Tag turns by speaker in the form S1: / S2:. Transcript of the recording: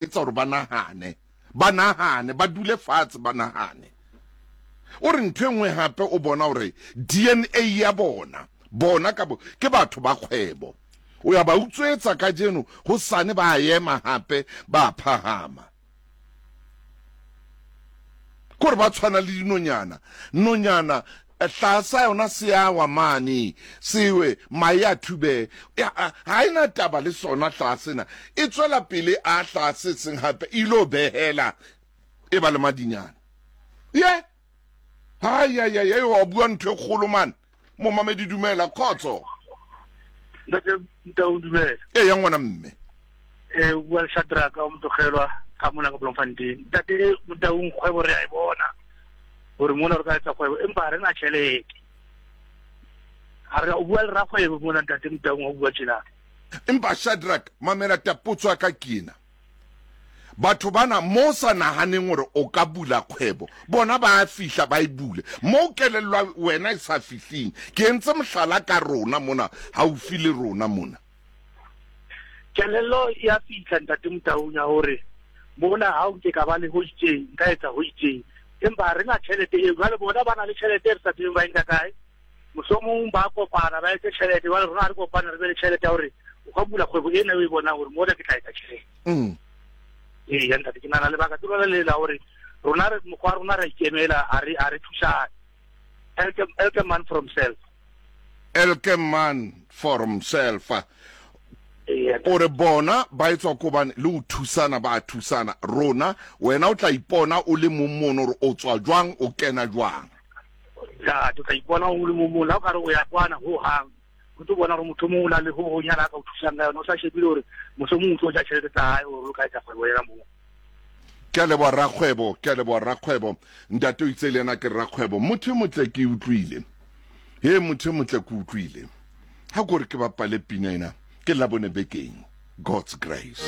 S1: etsa gore ba nagane ba nagane ba dule fatshe ba nagane o re ntho e nngwe gape o bona gore dna ya bona bona ka bo ke batho ba kgwebo o ya ba utswetsa ka jeno go sane ba ema gape ba phagama kore ba tshwana le dinonyana nonyana hlaa sa yona se a wa mane sewe mae a thube ga e na taba le sona hlaa sena e tswela pele a hlaa se seng gape e ilo behela e ba le madinyana ye Aiaiai, wa bua ntho e kgolo man. Momamedi dumela, khotso.
S2: Ntate Ntau dumela.
S1: Ee ya ngwana mme.
S2: Eh o bua le Shadraka o motlogelwa ka mona ka Bloemfontein. Ntate Motaung kgwebo re a e bona. Gore mona re ka etsa kgwebo empa ha re na tjhelete. Ha re o bua le rakgwebo mona ntate Motaung o bua tjena.
S1: Empa Shadrack mamela tapotso ya ka ke ena. Batho bana mo o sa nahaneng gore o ka bula kgwebo, bona ba a fihla ba e bule. Mo kelello wena e sa fihling. Ke entse mohlala ka rona mona, haufi le rona mona.
S2: Kelello ya fihla Ntate Motaung ya hore mona ha o nke ka ba le ho itseng, nka etsa ho itseng. Empa ha re na tjhelete eo. Jwale bona ba na le tjhelete e re sa tsebeng ba e nka kae. Mohlomong ba kopana ba etse tjhelete, jwale rona ha re kopane re be le tjhelete ya hore o ka bula kgwebo ena o e bonang hore mona ke tla etsa tjhelete. Ee, ya ntate, ke nahana lebaka ke lona le la hore rona re mokgwa wa rona ra ikemela, ha re ha re thusane. Elke, elke man from self.
S1: Elke man for himself. O re bona ba etswa ko bane le o thusana ba thusana rona wena o tla ipona o le mong mono gore o tswa jwang o kena jwang.
S2: Ntate, o tla ipona o le mong mono ha o ka re o ya kwana ho hang o tlo bona gore motho mongwe o na le ho honyana a ka o thusang ka yona o sa shebile gore mohlomong o tlo ja tšhelete tsa hae gore o ka etsa kgwebo ena moo.
S1: Ke a leboha rakgwebo, ke a leboha rakgwebo. Ntate o itse le yena ke rakgwebo. Motho e motle ke utlwile. He motho e motle ke utlwile. Ha ko re ke bapale pina ena ke Labone bekeng. God's grace.